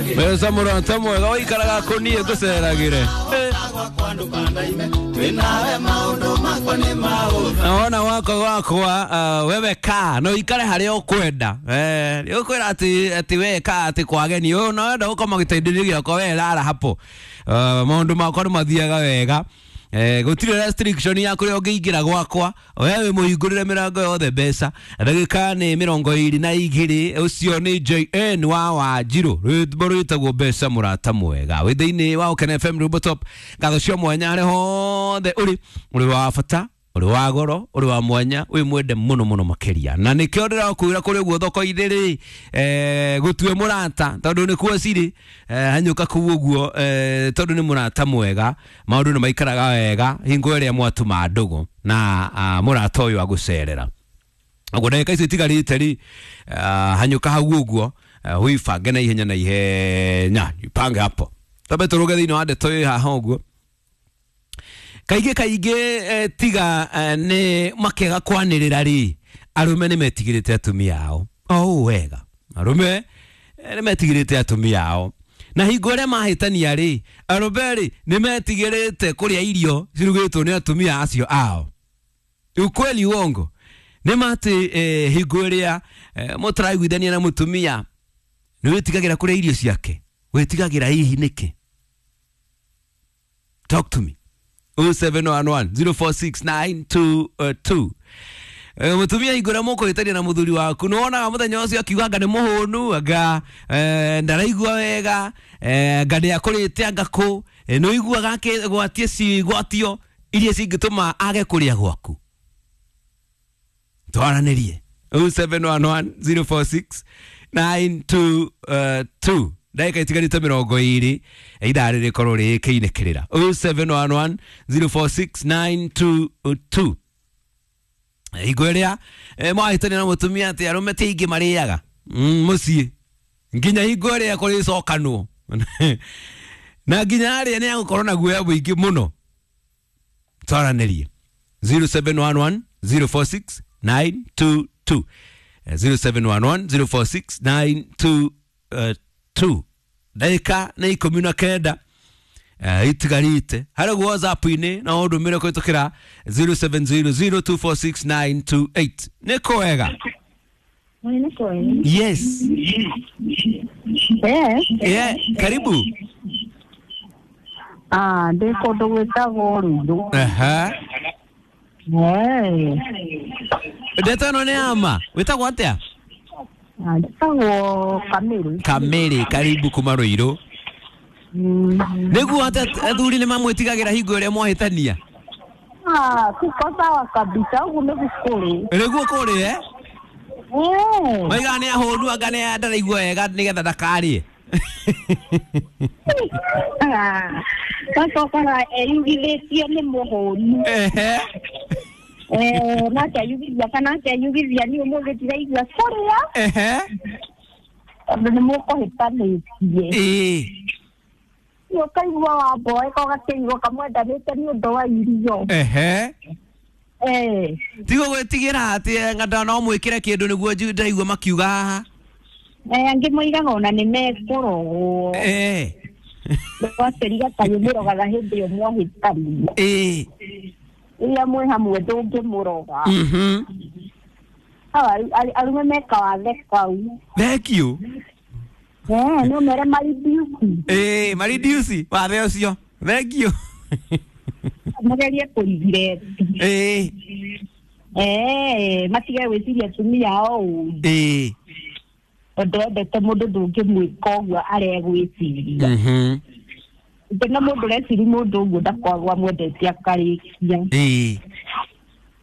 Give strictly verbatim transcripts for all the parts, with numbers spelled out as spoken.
Mbeca mũrata mwega ũikaraga kũniĩ ngũceragĩre. Naona wako wakwa uh, wewe ka no ikare haria ukwenda eh ukwira ati ati we ka ati kwageni no wenda gukoma gitaindirio giakwa we rara hapo uh, maundu makwa ni mathiaga wega eh gutire restriction ya kuria ungiingira gwakwa wewe muhingurire mirango yothe mbeca ndagika ni mirongo iri na igiri ucio ni J N wa Wanjiru rwimbo rwitagwo mbeca murata mwega wi thiini wa Ukene F M Rwimbo Top ngatho cio mwanya ari hothe uri uri wa bata uri wa goro uri wa mwanya wi mwende muno muno makiria na nikio ndirakwira kuri uguo thoko-inĩ rĩ eh gutue murata tondu nikuo ciri eh hanyuka kuu uguo eh tondu ni murata mwega maundu ni maikaraga wega hingo ĩrĩa mwatuma ndugu na uh, murata uyu agucerera uguo ndagĩka icio itigarĩte rĩ uh, hanyuka hau uguo uh, wibange na ihenya na ihenya ipange hapo tambe turuge thĩinĩ wa ndeto ĩ haha uguo kaingĩ kaingĩ eh, tiga eh, nĩ makĩaga kwanĩrĩra rĩ arũme nĩ metigĩrĩte atumia ao o ũũ wega arũme eh, nĩ metigĩrĩte atumia ao na hingo ĩrĩa mahĩtania rĩ arũme rĩ nĩ metigĩrĩte kũrĩa irio cirugĩtwo nĩ atumia acio ao ukweli uongo nĩ matĩ eh, hingo ĩrĩa eh, mũtaraiguithania na mũtumia nĩ wĩtigagĩra kũrĩa irio ciake wĩtigagĩra hihi nĩkĩ talk to me oh seven one one zero four six nine two two mutumia igora mukuhitania na muthuri waku nĩwonaga muthenya ũcio akiuga anga nĩ mũhũnu anga eh, ndaraigua wega eh, anga nĩakũrĩte anga kũ eh, nĩũiguaga akĩgwatie cigwatio iria cingĩtũma age kũrĩa gwaku twaranĩrie oh seven one one zero four six nine two two ndagĩka itigarĩte mĩrongo ĩrĩ ithaa rĩrĩkorwo rĩkĩinĩkĩrĩra oh seven one one zero four six nine two two hingo ĩrĩa mwahĩtania na mũtumia atĩ arũme ti aingĩ marĩaga mũciĩ nginya hingo ĩrĩa kũrĩcokanwo na nginya arĩa nĩ agũkorwo na guoya mũingĩ mũno twaranĩrie zero seven one one zero four six nine two two zero seven one one zero four six nine two two ndagĩka nĩ ikũmi na kenda uh, itigarĩte harĩ guo WhatsApp-inĩ no ũndũmĩre kũhĩtũkĩra zero seven zero zero two four six nine two eight nĩ kwega yes Eh. Yeah, karibu Ah, ndĩ kũndũ gwĩtagwo Ruiru. Aha. Eh. Ndeto ĩno nĩ ama wĩtagwo atĩa Njĩtagwo Kamĩrĩ. Kamĩrĩ karibu kuma Ruiru Mm. nĩguo atĩ athuri nĩ mamwĩtigagĩra hingo ĩrĩa mwahĩtania Ah, tuko sawa kabisa ũguo nĩguo kũrĩ. nĩguo kũrĩ eh Eh. maigaga nĩ ahũnu anga nĩ ndaraigua wega nĩgetha ndakarĩe Ah, sasa ũkora eyugithĩtie nĩ mũhũnu. Ehe. Eh, nake ayugithia kana akeyugithia niĩ ũmũthĩ ndiraigua kũrĩa Ehe. tondũ nĩ mũkũhĩtanĩtie. Ĩĩ. Nĩ ũkaigua wamboeka ũgakĩigua kamwendanĩte nĩ ũndũ wa irio. Ehe. Eh. Tigo gwĩtigĩra atĩ ng'anda no mwĩkĩre kĩndũ nĩguo nju- ndaigua makiuga haha Eh, angĩ moigaga ona nĩ mekũrogwo. Eh. Gwakĩriga ta mũrogaga hĩndĩ ĩyo mwahĩtania. Ĩĩ. Rĩrĩa mwĩ hamwe ndũngĩmũroga. Mhm. Hau aru- arume meka wathe kau. Thank you. Eh, no mere maridiusi. Ĩĩ, maridiusi wathe ũcio. Thank you. Magerie kũrigireti. Ĩĩ. Eh, matige gwĩciria atumia ao ũru. Ĩĩ. Tondũ wendete mũndũ ndũngĩmwĩka ũguo aregwĩciria. Mhm. Ngĩona mũndũ ũreciria mũndũ ũguo ndakoragwo amwendete akarĩkia. Ĩĩ.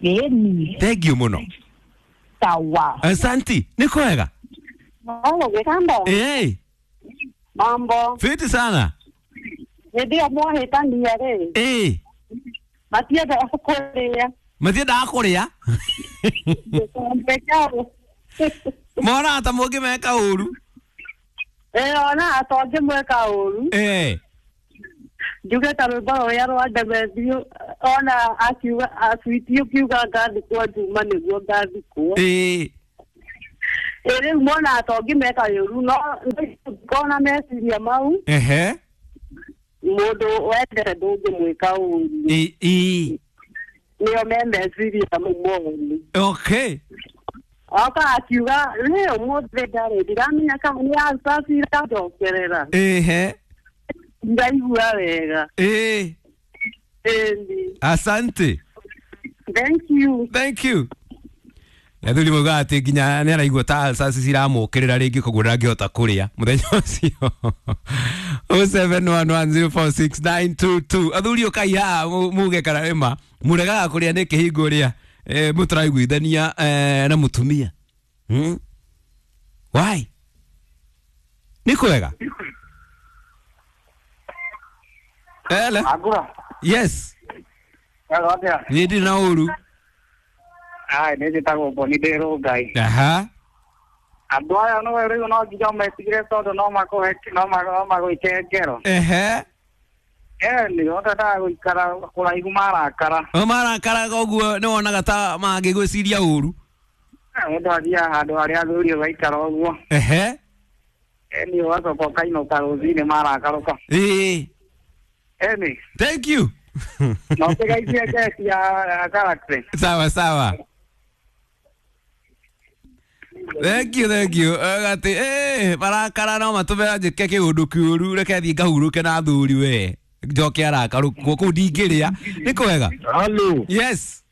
Ĩni. Thank you mũno. Sawa. Asanti, nĩ kwega? Halo, Gĩkamba. Ĩĩ. Mambo. Fiti sana. Hĩndĩ ĩyo mwahĩtania rĩ, Ĩĩ. matiendaga kũrĩa. Matiendaga kũrĩa? Gĩkombe kĩao. Monaga ta mũngĩmeka ũru. Ĩĩ, onaga ta ũngĩmwĩka ũru. Ĩĩ. Njuge ta rwĩmbo rũrĩa rwa Demetrio ona akiuga aswiti ũkiuga ngathikwo Juma nĩguo ngathikwo. Ĩĩ. Ĩ rĩu monaga ta ũngĩmeka ũru no Kona meciria mau Ehe. Mũndũ wendete ndũngĩmwĩka ũru. Ĩ ĩ. Nĩo me meciria mau moru. Okay. Oka akiuga rĩ ũmũthĩ ndarĩ ndiramenya kana nĩ alcas iranjokerera. Ehe. Ndaigua wega. Ĩ. Ĩni. Asante. Thank you. Thank you. Athuri maugaga atĩ nginya nĩ araigua ta alcas ciramũkĩrĩra rĩngĩ koguo ndangĩhota kũrĩa mũthenya ũcio. oh seven one one zero four six nine two two. Athuri ũkai haha muge kana nĩma mũregaga kũrĩa nĩ kĩhingo rĩa mũtaraiguithania na mũtumia. Hmm? Why? Nĩ kwega? Ele? Agura. Yes. Hello, atia. Niĩ ndirĩ na ũru. Ai, nĩ njĩtagwo Boni ndĩ Rũngai. Aha. Andũ aya no rĩu no nginya ũmetigĩre tondũ no makũhe no magwĩke ngero. Ehe. Ĩni, ũtendaga gũikara kũraihu marakara. O marakara koguo nĩ wonaga ta mangĩgwĩciria ũru. Mũndũ athiaga handũ harĩa athuri ũgaikara ũguo. Ehe. Ĩni, ũgacoka ũkainũka rũcinĩ marakarũka. Ĩĩ. Ĩni. Thank you. No ũkĩgeithie ngeci ya Galaxy. Sawa sawa. Thank you, thank you. Agati eh marakara no matũme njĩke kĩũndũ kĩũru reke thiĩ ngahurũke na athuri we. Njoke arakarũkwo kũu ndingĩrĩa. Nĩ kwega? Hello. Yes.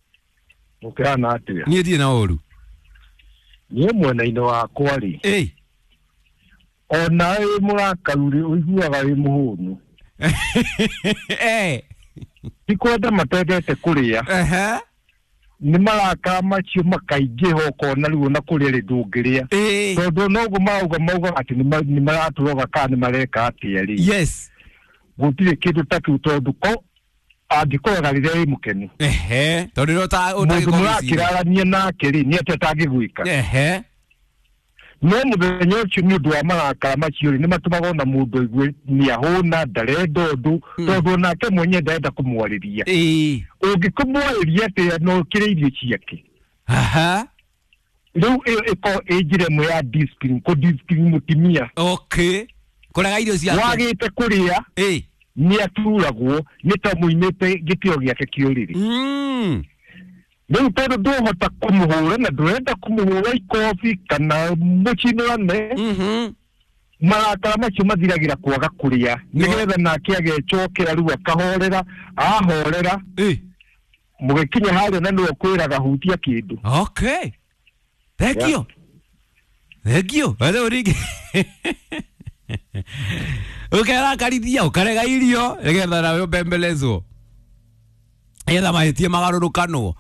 Ũkĩhana atĩa? Niĩ ndirĩ na ũru. Niĩ mwena-inĩ wakwa rĩ. Ĩ. Ona wĩ mũrakaru rĩ ũiguaga wĩ mũhũnu. Eh. Ti kwenda matendete kũrĩa. Ehe. Nĩ marakara macio makaingĩha ũkona rĩu ona kũrĩa rĩ ndũngĩrĩa. Tondũ noguo marauga maugaga atĩ nĩ maratũroga kana nĩ mareka atĩa rĩ. Yes. Gũtirĩ kĩndũ ta kĩu tondũ ko angĩkũraga rĩrĩa wĩ mũkenu. Ehe. Tondũ rĩrĩa mũndũ mũrakĩrarania nake rĩ nĩ atĩa atangĩgwĩka. Ehe. No mũthenya ũcio nĩ ũndũ wa marakara macio rĩ nĩ matũmaga ona mũndũ aigue nĩ ahũna ndarenda ũndũ tondũ onake mwenyewe ndarenda kũmwarĩria. Ĩĩ. Ũngĩkũmwarĩria atĩa no ũkĩrĩ irio ciake. Aha. Rĩu ĩyo ĩkorwo ĩ njĩra ĩmwe ya discipline, kũ discipline mũtumia. Okay. Kũrega irio ciake. Wagĩte kũrĩa. Ĩĩ. Nĩ aturagwo nĩ ta mũimĩte gĩtĩo gĩake kĩa ũrĩrĩ. Mm. Rĩu tondũ ndũhota kũmũhũra na ndũrenda kũmũhũra ikobi kana mũcinũrane. Mhm. Marakara macio mathiragĩra kwaga kũrĩa nĩgetha nake agecokera rĩu akahorera ahorera. Ĩ. Mũgĩkinya harĩa na nĩwe ũkwĩraga hutia kĩndũ. Okay. Thank you. Thank you. Rĩu rĩngĩ ũkerakarithia ũkarega irio nĩgetha nawe ũbembelezwo nĩgetha mahĩtia magarũrũkanwo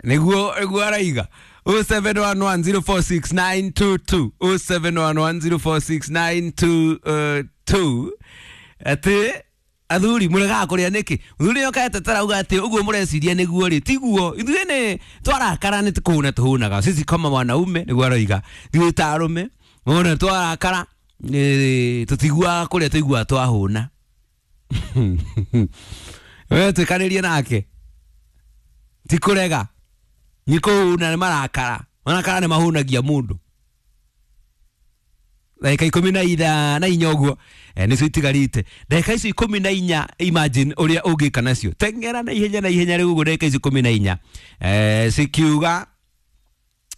nĩguo nĩguo araiga. oh seven one one zero four six nine two two oh seven one one zero four six nine two two. Atĩ athuri mũregaga kũrĩa nĩkĩ? Mũthuri nĩ okaete arauga atĩ ũguo mũreciria nĩguo rĩ tiguo. Ithuĩ nĩ twarakara nĩ kũhũna tũhũnaga. Sisi kama wanaume nĩguo aroiga. Ithuĩ ta arũme ona twarakara tũtiguaga kũrĩa tũiguaga twahũna. We twĩkanĩrie nake ti kũrega nĩ kũhũna nĩ marakara. Marakara nĩ mahũnagia mũndũ. Ndagĩka ikũmi na itha na inya ũguo nĩcio itigarĩte. Ndagĩka icio ikũmi na inya imagine ũrĩa ũngĩka nacio. Teng'era na ihenya na ihenya rĩu ũguo ndagĩka icio ikũmi na inya cikiuga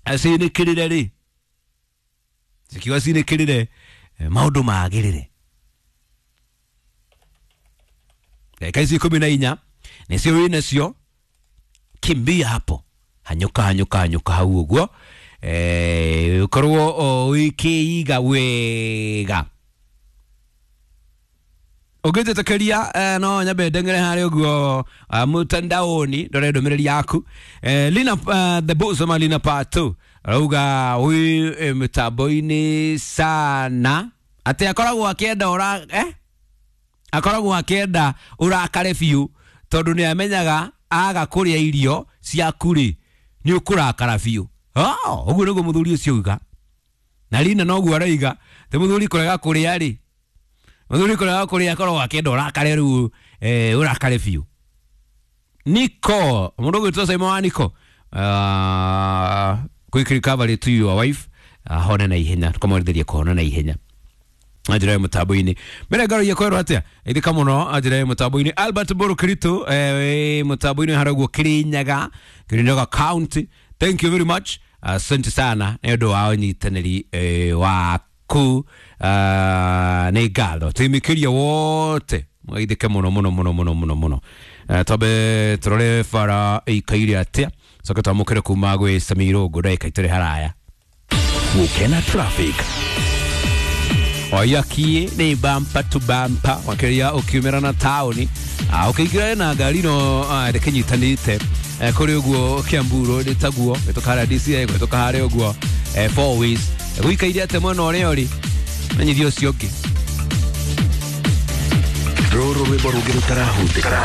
cinĩkĩrĩre rĩ cikiuga cinĩkĩrĩre maũndũ magĩrĩre. Ndagĩka icio ikũmi na inya nĩcio wĩ nacio. Kimbia hapo hanyũka hanyũka hanyũka hau ũguo eh ũkorwo ũkĩiga wega. Ũngĩnjĩtĩkĩria no nyambe ndeng'ere harĩa ũguo mtandaoni ndore ndũmĩrĩri yaku. Lina the boss ama Lina part two arauga wĩ mĩtambo-inĩ sana atĩ akoragwo akĩenda ũra eh akoragwo akĩenda ũrakare biũ tondũ nĩ amenyaga aga kũrĩa irio ciaku rĩ nĩ ũkũrakara biũ. Oh, ũguo nĩguo mũthuri ũcio auga. Na Lina noguo arauga atĩ mũthuri kũrega kũrĩa rĩ mũthuri kũrega kũrĩa akoragwo akĩenda ũrakare rĩu eh ũrakare biũ. Niko mũndũ ũgwĩtwo Simon wa Niko uh, quick recovery to your wife ahone na ihenya tukamwendithĩria kũhona na ihenya. Njĩra ya mũtambo-inĩ mbere ngaragia kwerwo atĩa ithika mũno njĩra ya mũtambo-inĩ Albert Mburu Kiritu eh, mũtambo-inĩ harĩa ũguo Kirinyaga Kirinyaga County. Thank you very much, asante sana nĩ ũndũ wa ũnyitanĩri eh, waku. Ah, nĩ ngatho tũimĩkĩria wote mwaithĩke mũno mũno mũno mũno mũno mũno. Eh, twambe tũrore bara ĩikaire atĩa coke twamũkĩre kuma gwĩ Samirũngũ ndagĩka itũrĩ haraya. Gukena traffic. Waiyaki nĩ bampa to bampa makĩria ũkiumĩra na taũni. Ah, ũkĩingĩra na ngari no ah, ndĩkĩnyitanĩte. Eh, kũrĩ ũguo Kiambu Road taguo gĩtũka harĩa D C I gĩtũka harĩa ũguo eh, four ways gũikaire atĩa mwena ũrĩa ũrĩ menyithia ũcio ũngĩ. Rũrũ rwĩmbo rũngĩ rũtarahutĩka.